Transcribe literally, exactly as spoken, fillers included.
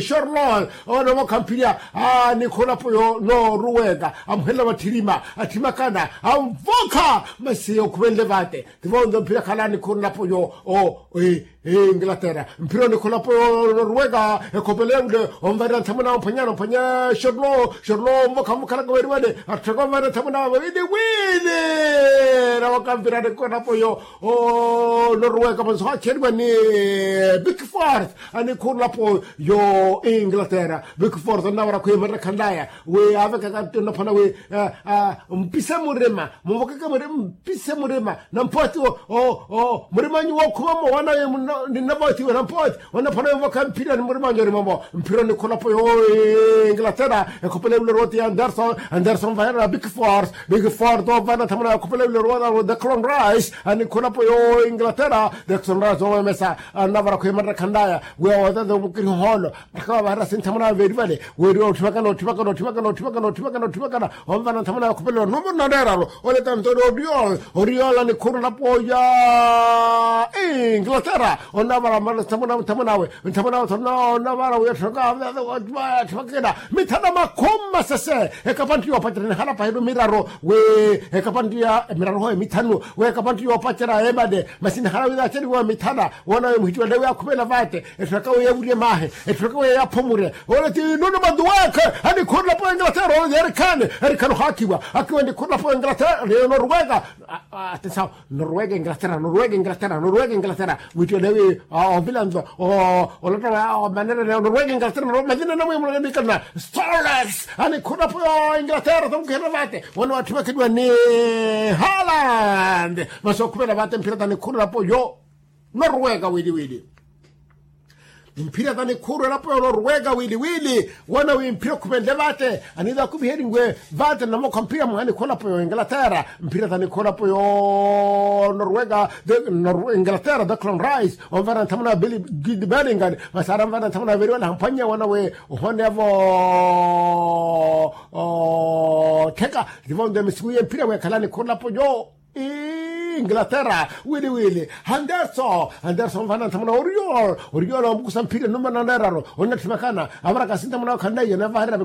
Shorlon. Owo anamokha mphirya, a nikhulapo yo noruweka amuhelela vatthirima, atthima akana anvokha. Masi okhuvenle vate, tivo onto mphirya khala nikhulapo yo o inglaterra. Mphira onikhulapo yo noruweka ekhopele ule, onvarira nthamuna omphwanyana omphwanya shorlo shorlo omvokha mukhalaka weri vale. Atthaka onvarira nthamuna wili wili. Nawaka mphira nikhulapo yo o noruweka vonso hacheriwa ni bikfort. Anikhulapo yo inglaterra bikfort onnavara khwiimarira khanlaya wi avekaka ntto nnaphwana wi mpise murima muvokeke murima mpise murima nampooti. Murima anyu wookhuma mmo wana ninnavotiwe nampooti. Onna phana yovokha mphira ni murima anyu orima mmo mphira onikhulapo yo inglaterra. Ekhopela ewilerowoti ya anderson anderson vaherera bikfort. Bikfort ovana nthamuna ekhopela ewilerowota the clon rice anikhulapo yo inglaterra. The clon rice owemesa annavara khwiimarira khanlaya wi awotete omukiri ohoolo. Akhawa vaharasi nthamuna veeri vale weri otthivakana otthivakana otthivakana otthivakana otthivakana otthivakana. Onvana nthamuna yakhupelelo numuru nanreeralo. Oleta nto ori oriola nikhurulapo ya inglaterra. Onavara mara nthamuna nthamunawe nthamunawe thona onavara wi atthivaka atthivakena mithana makhumi masese. Ekapantti yoopacerya nihala pahelo miraru wi ekapantti ya miraru hoye mithanu wi ekapantti yoopacerya emane. Masi nihala wi naaceriwa mithana woonawe muhittiwale wi akhupela vate. Etthu aka wi yavurye maahi etthu aka wi yaphumurye. Ole ti nuno maduweke anikhurulapo engalaterra ole ti erikhani erikhani ohaakhiwa akiwa nikhurulapo engalaterra noruweka. Ati sawa noruweka engalaterra noruweka engalaterra noruweka engalaterra. Wittiwale wi ovilanto olotta manerene noruweka engalaterra mazina namwimulana mikalana. Stores anikhurulapo engalaterra tomukihela vate wana watthivakeliwa ni haland. Masi okhupela vate mphira tanikhurulapo yo noruweka wili wili. Mphira tanikhuru elapo yo noruweka wili wili wana wi mphira okhupenle vate. Aniiza akuviheriwe vate namokha mphira mwaha nikholapo yo inglaterra. Mphira tanikholapo yo noruweka inglaterra the clon rice onvara nthamuna billy gidberingan. Masi ara nvara nthamuna veri wana hamphwanya wana wi ohonevo ottheka. Tivonde misiku ye mphira wi ekhala nikholapo yo inglaterra wili wili. Anderson anderson vana nthamuna oriol oriol omukusa mphira numana neeraro. Onnatthima kana avarakasi nthamuna okhanleiye navaherera viko.